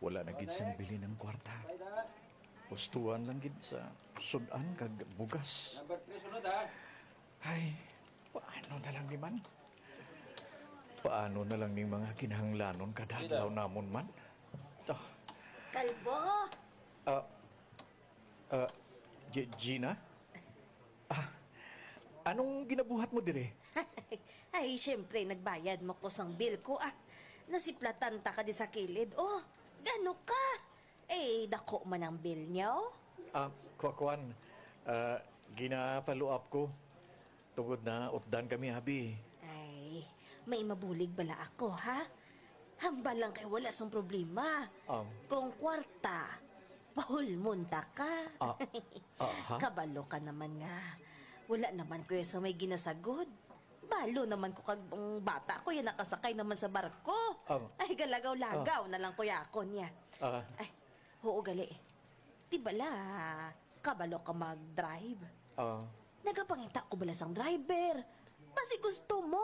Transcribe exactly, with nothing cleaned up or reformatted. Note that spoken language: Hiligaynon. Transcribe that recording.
Wala na gid sang bilin ang kwarta. Hustuan lang gid sa sud-an kag bugas. Number three, sunod, ha? Ay, paano na lang ni man? Paano na lang ning mga kinahanglanon kada adlaw namon man? To. Kalbo! Ah, ah, G-, Gina? Ah, anong ginabuhat mo dire? Ay, syempre, nagbayad mo ko sang bill ko, ah. Nasiplatan ta ka di sa kilid. Oh, gano ka? Eh, dako man ang bill niyo. Ah, kwa-, kwan, ah, gina-follow up ko. Tungod na utdan kami, abi. Ay, may mabulig bala ako, ha? Hambal lang kay wala sang problema. Um. Kung kwarta, pahulmon ta ka. Ah, ah, ha? Kabalo ka naman nga. Wala naman ko ya sa may ginasagod. Balo naman ko kag ang bata ko ya nakasakay naman sa barko. Um. Ay, galagaw-lagaw Ah. na lang ko ya ako niya. Ah. Ay, oo, gali. Di bala, kabalo ka mag-drive? Ah. Nagapangita ko bala sang driver. Basi gusto mo.